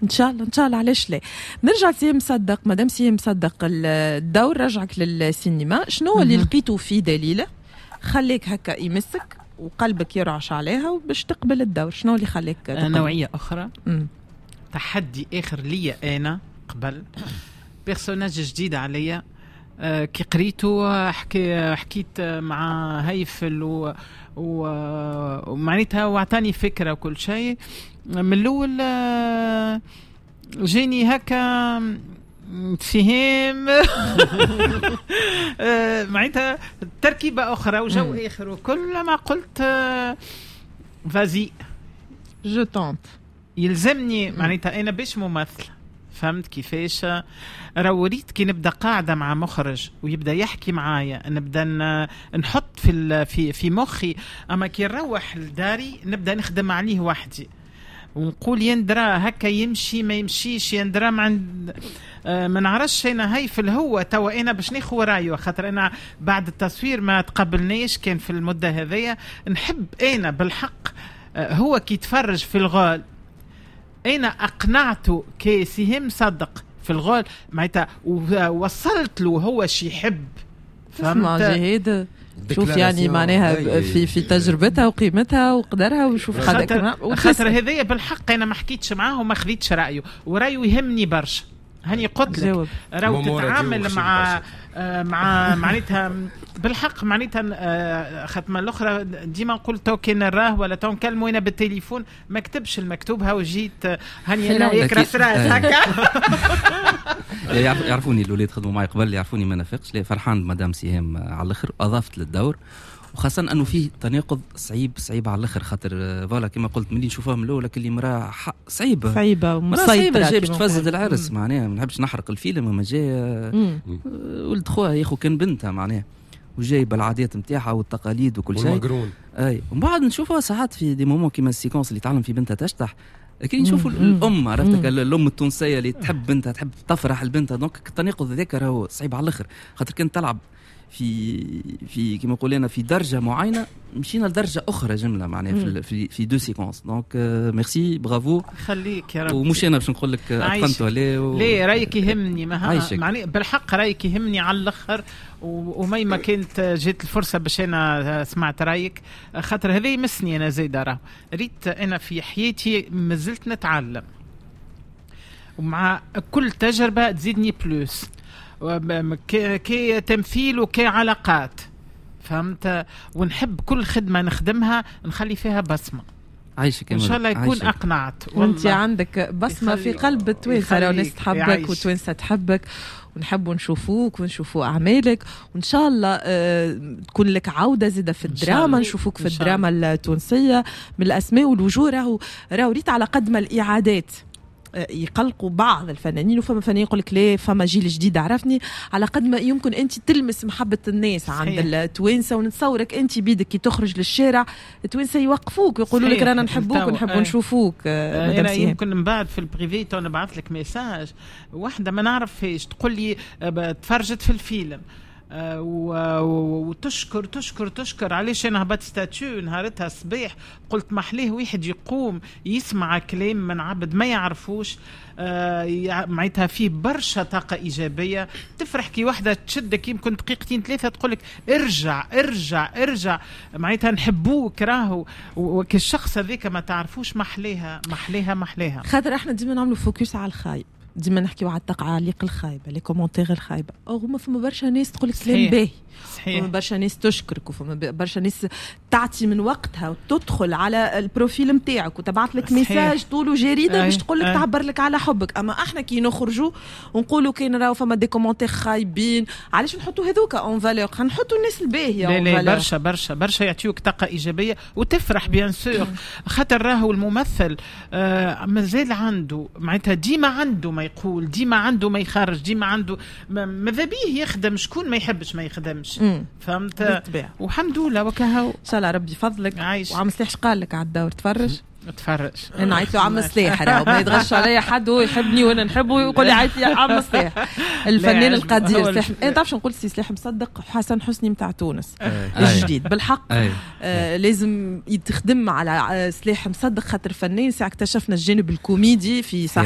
ان شاء الله، ان شاء الله، علاش لا. نرجع سي مصدق، مدام سي مصدق، الدور رجعك للسينما، شنو اللي لقيته في دليله خليك هكا يمسك وقلبك يرعش عليها وباش تقبل الدور؟ شنو اللي خليك تقبل؟ نوعية اخرى، تحدي اخر ليا انا قبل، personnage جديد عليا. كي قريته حكيت مع هيفل ومعناتها وعطاني فكرة وكل شيء. من الاول جاني هكا سهام، معناتها تركيبه اخرى وجو اخر وكل ما قلت vas-y je tente. يلزمني معناتها انا باش ممثل، فهمت كيفاش؟ راهو ريت كي نبدا قاعدة مع مخرج ويبدا يحكي معايا نبدا نحط في في في مخي، اما كي نروح لداري نبدا نخدم عليه وحدي ونقول يندرا هكا يمشي ما يمشيش، يندرا ما عند ما نعرفش انا هيفل هو توا انا باش ناخذ رايه، خاطر انا بعد التصوير ما تقبلنيش كان في المدة هذيا. نحب انا بالحق هو كي يتفرج في ال rôle انا اقنعته كي سهام صدق في ال rôle، معناتها وصلت له هو شي يحب. فهمت جهاد؟ شوف يعني معناها في تجربتها وقيمتها وقدرها وشوف. خاطر هذايا بالحق انا ما حكيتش معاه وما خذيتش رايه، ورايه يهمني برشا. هاني قلت لك راهو تتعامل مع معناتها بالحق معناتها خاطر الاخرى ديما نقول تو كان نراه ولا تو نكلمه انا بالتليفون، ما كتبش المكتوب، هاو جيت هاني انا وياك راس راس هكا. يعرفوني الاولاد، خدموا معي قبل، يعرفوني ما نافقش. لا، فرحان مدام سهام على الاخر، اضافت للدور، وخاصة انه فيه تناقض صعيب صعيب على الاخر، خاطر voilà كما قلت ملي نشوفوها من الاول اللي مراة صعيبة. صعيبة ومسيطره، صعيبه، جاي باش تفسد العرس. معناها ما نحبش نحرق الفيلم، اما جاي ولد خوها ياخو كان بنتها معناها، وجايبه العادات نتاعها والتقاليد وكل شيء. والمقرون. اي، ومن بعد نشوفها ساعات في des moments كيما ال séquence اللي تعلم في بنتها تشطح، كي نشوفوا الام، عرفتك الام التونسية اللي تحب بنتها، تحب تفرح لبنتها، donc التناقض هذاك راهو صعيب على الاخر، خاطر كنت تلعب في كما نقول انا في درجه معينه، مشينا لدرجة اخرى جملة معناها في deux séquences، donc merci، bravo. خليك يا رب. ومش انا باش نقول لك اتقنت ولا ليه، رايك يهمني ما معني بالحق رايك يهمني على الاخر، وميما كانت جات الفرصة باش انا سمعت رايك، خاطر هذا يمسني انا زايدة. راه ريت انا في حياتي مازلت نتعلم، ومع كل تجربه تزيدني plus كي تمثيل وكعلاقات، فهمت؟ ونحب كل خدمة نخدمها نخلي فيها بصمه. عايشك. ان شاء الله يكون اقنعت. وانت عندك بصمة في قلب التوانسه، راهو الناس تحبك وتوانسه تحبك، ونحبوا نشوفوك ونشوفوا اعمالك، وان شاء الله تكون لك عوده زاده في الدراما، نشوفوك في الدراما التونسية من الاسماء والوجوه. راهو ريت على قد ما الاعادات يقلقوا بعض الفنانين، وفما فنانين يقول لك لا فما جيل جديد عرفني، على قد ما يمكن انت تلمس محبة الناس عند التوانسه، ونتصورك انت بيدك كي تخرج للشارع التوانسة يوقفوك ويقولوا لك رانا نحبوك ونحبوا نشوفوك. انا يمكن من بعد في ال privé تو نبعث لك message، واحدة ما نعرفهاش تقول لي تفرجت في الفيلم وتشكر تشكر تشكر. علاش انا هبطت statut نهارتها الصباح قلت محليه واحد يقوم يسمع كلام من عبد ما يعرفوش، معناتها فيه برشا طاقة ايجابيه. تفرح كي واحدة تشدك يمكن دقيقتين ثلاثة تقول لك ارجع ارجع ارجع، معناتها نحبوك راهو، وكالشخص هذاك ما تعرفوش، محليها محليها محليها. خاطر احنا ديما نعملوا focus على الخايب، ديما نحكيو على التعاليق الخايبه، les commentaires الخايبه، or ما فما برشا ناس تقول لك كلام باهي. فما برشا ناس تشكرك، وفما برشا ناس تعطي من وقتها وتدخل على ال profil نتاعك وتبعث لك message طول جريدة باش تقول لك، تعبر لك على حبك. اما احنا كي نخرجوا ونقولوا كاين راهو فما des commentaires خايبين، علاش نحطوا هذوك en valeur؟ نحطوا الناس الباهيه. لا لا، برشا برشا برشا يعطيوك طاقة ايجابية وتفرح bien sûr، خاطر راهو الممثل مازال عنده معناتها ديما عنده ما يقول، ديما عنده ما يخرج، ديما عنده ماذا بيه يخدم. شكون ما يحبش ما يخدمش؟ فهمت؟ والحمد لله وكهو. ان شاء الله ربي يفضلك. عايش. وعم سلاح قال لك على الدور؟ تفرج. تفرج. انا عيط له عم سلاح، راهو ما يتغش عليا حد، هو يحبني وانا نحبه ويقول لي عيط لي عم سلاح، الفنان القدير سلاح. انا تعرف نقول سي سلاح مصدق حسن حسني نتاع تونس الجديد بالحق. لازم يتخدم على سلاح مصدق، خاطر فنان ساعة اكتشفنا الجانب الكوميدي في صاحب